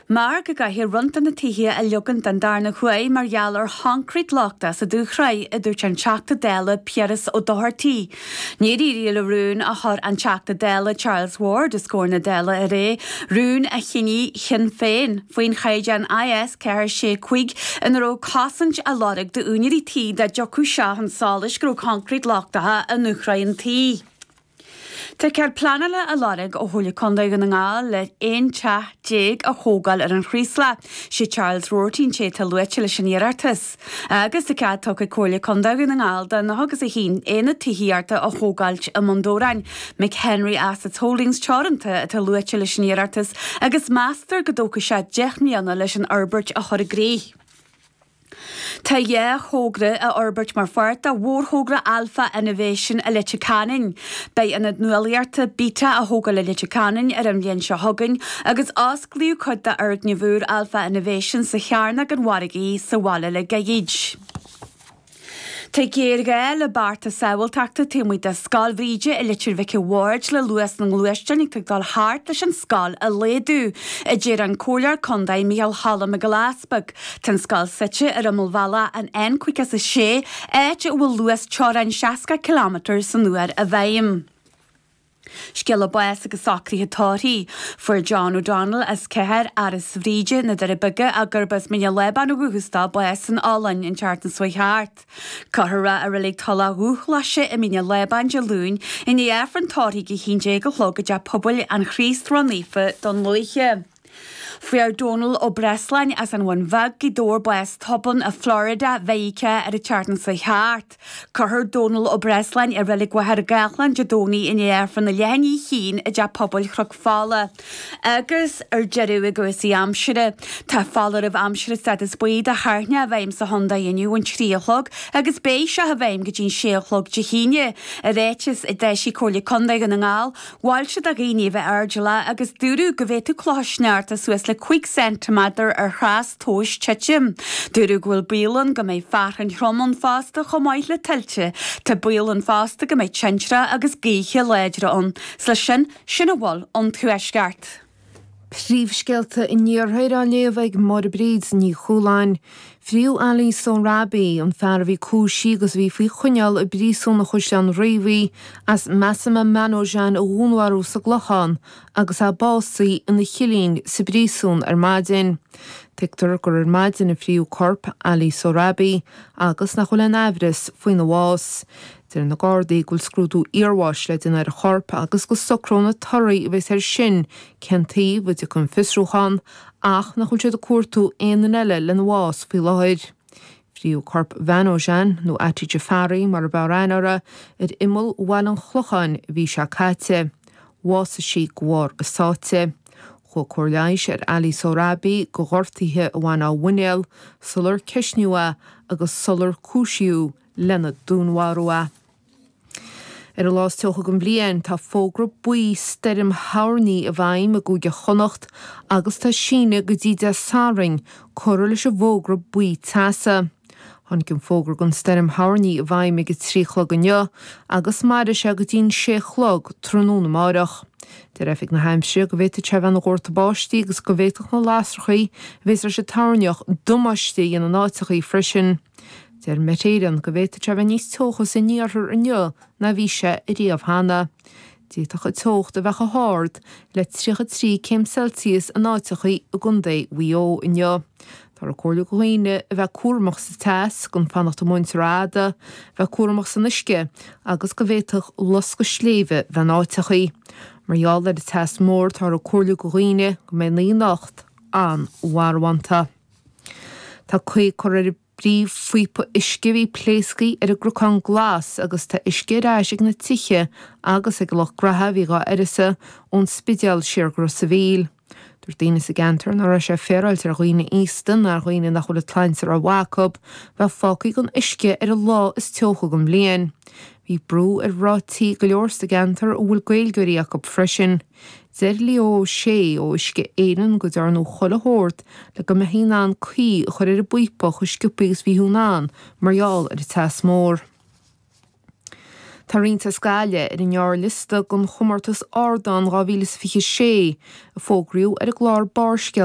Mar go gcaithfear roinnt de na tithe a leagan den darna huair mar gheall ar choincréit lochtach sa dúshraith, a dúirt an Teachta Dála Piaras Ó Dochartaigh. Níor éirigh le rún a chuir an Teachta Dála Charles Ward os comhair na Dála aréir, rún a shínigh Sinn Féin, faoin chaighdeán IS 465 ina raibh cosaint á lorg d'úinéirí tí dá dtiocfadh sé chun solais go raibh coincréit lochtach i ndúshraith an tí. Tá cead pleanála á lorg ó Chomhairle Contae Dhún na nGall le 11 teach a thógáil ar an Chraoslach. Sé Charles Roarty an té atá luaite leis an iarratas. Agus tá cead tugtha ag Comhairle Contae Dhún na nGall do 91 aonad tithíochta a thógáilt i mBun Dobhráin. McHenry Assets Holdings Teoranta atá luaite leis an iarratas agus meastar go dtógfaidh sé 10 mbliana leis an fhorbairt a chur i gcrích. Tá dhá thogra á fhorbairt mar pháirt de mhórthogra Alpha Innovation i Leitir Ceanainn. Beidh ionad nuálaíochta Beta á thógáil i Leitir Ceanainn ar an bhliain seo chugainn agus osclaíodh cuid d'fhoirgneamh úr Alpha Innovation sa Chearnóg an Mhargaidh sa bhaile le gairid. Tá géarghá le bearta sábháilteachta taobh amuigh de Scoil Bhríde i Leitir Mhic a' Bhaird le luas na ngluaisteán atá ag dul thart leis an scoil a laghdú, a deir an Comhairleoir Contae Micheál Choilm Mac Giolla Easpaig. Tá an scoil suite ar imeall bhealach an N56, áit a bhfuil luas teorann 60 ciliméadar san uair i bhfeidhm. Scéala báis agus socruithe tórraimh. Fuair John O'Donnell as Cathair Áras Bhríde, na Doirí Beaga, ach gurb as Mín an Lábáin ó dhúchas dó, bás san Ollainn an tseachtain seo thart. Cuirfear é i Reilig Tulach Dhubhghlaise i Mín an Lábáin Dé Luain i ndiaidh Aifreann tórraimh ag 11 a chlog i dTeach Pobail an Chríost Ró-Naofa, Dún Lúiche. Fuair Dónal Ó Breasláin as an Bhun Bheag, Gaoth Dobhair bás tobann i Florida, Mheiriceá ar an tseachtain seo thart. Cuirfear Dónal Ó Breasláin i Reilig Mhachaire Gathlán Dé Domhnaigh i ndiaidh Aifreann a leath i ndiaidh a haon i dTeach Pobail Chnoc Fola. Agus ar deireadh i gcúrsaí aimsire, tá foláireamh aimsire stádas buí do thoirneach i bhfeidhm sa chontae inniu ón 3 a chlog agus beidh seo i bhfeidhm go dtí an 6 a chlog Dé hAoine. I ráiteas a d'eisigh Comhairle Contae Dhún na nGall, Mhol siad do dhaoine a bheith airdeallach agus dúradh go bhféadfadh clocha sneachta suas le 5 ceintiméadar ar thrastomhas titim. Dúradh go bhfuil baol ann go mbeidh fearthainn throm ann fosta chomh maith le tuilte. Tá baol ann fosta go mbeidh tintreach agus gaoithe láidre ann. 'S leis sin, sin a bhfuil ón Tuaisceart. Príomhscéalta an Iarthair á léamh ag Máire Bríd Ní Chualáin. Fríodh Ali Sohrabi, an fear a bhí cúisithe agus a bhí faoi choinneáil i bpríosún an Chaisleáin Riabhaigh as Masuma Manojan a dhúnmharú sa gClochán agus é básaithe ina chillín sa bpríosún ar maidin. Tuigtear gur ar maidin a fríodh corp Ali Sohrabi agus nach bhfuil aon aimhreas faoina bhás. Deir na Gardaí go bhfuil scrúdú iarbháis le déanamh ar an chorp agus go socróidh na torthaí a bheas air sin cén taobh a dtiocfaidh an fiosrúchán ach nach bhfuil siad ag cuartú aon duine eile lena bhás faoi láthair. Fríodh corp Mhanojan, nó Ati Jafari mar ab fhearr aithne uirthi, ar imeall Bhaile an Chlocháin an mhí seo caite. Bhásaigh sí de bharr a sáite. Chuaigh cóir leighis ar Ali Sohrabi do ghortuithe a bhain dá mhuinéal sular ceistníodh é agus sular cúisíodh lena dúnmharú é. Ar an lá is teocha den bhliain, tá fógra buí stoirm thoirní i bhfeidhm i gCúige Chonnacht agus tá síneadh go dtí Dé Sathairn curtha leis an bhfógra buí teasa. Tháinig an fógra don stoirm thoirní i bhfeidhm ag a 3 a chlog inniu agus mairfidh sé go dtí an 6 a chlog tráthnóna amáireach. Deir Oifig na hAimsire go bhféadfadh sé a bheith ina dhórtadh báistí agus go bhféadfadh na lasrachaí a bhéas leis an toirneach damáiste a dhéanamh in áiteachaí freisin. Deir Met Éireann go bhféadfadh sé a bheith níos teocha san iarthar inniu ná bhí sé ariamh cheana. D'fhéadfadh an teocht a bheith chomh hard le 33 céim Celsius in áiteachaí i gContae Mhaigh Eo inniu. Táthar ag comhairliú do dhaoine a bheith cúramach sa teas, gan fanacht amuigh anso rófhada, bheith cúramach san uisce agus go bhféadfadh loscadh sléibhe bheith in áiteachaí. Mar gheall ar an teas mór táthar ag comhairliú do dhaoine go mbeidh an oíche anocht an-mharbhánta. Tá caoi curtha ar an bpríomhphíopa uisce a bhí pléasctha ar an gCnocán Glas agus tá uisce ar ais ag na tithe agus ag an lucht graithe a bhí dhá uireasa ón Spidéal siar go Ros a' Mhíl. Dúirt daoine sa gceantar nach raibh sé féaráilte ar dhaoine aosta ná ar dhaoine nach bhfuil an tsláinte rómhaith acu bheith fágtha gan uisce ar an lá is teocha den bhliain. Bhí brú ar mhná tí go leor sa gceantar a bhfuil Gaeilgeoirí acu freisin. Deir Leo Ó Sé ó Uisce Éireann go dtearnadh chuile shórt le go mbeifí in ann caoi a chur ar an bpíopa chomh sciobtha agus bhíthú in ann mar gheall ar an teas mór. Tá roinnt as Gaillimh ar an ngearrliosta don chomórtas Ardán 2026 a fógraíodh ar an gclár Barrscéalta.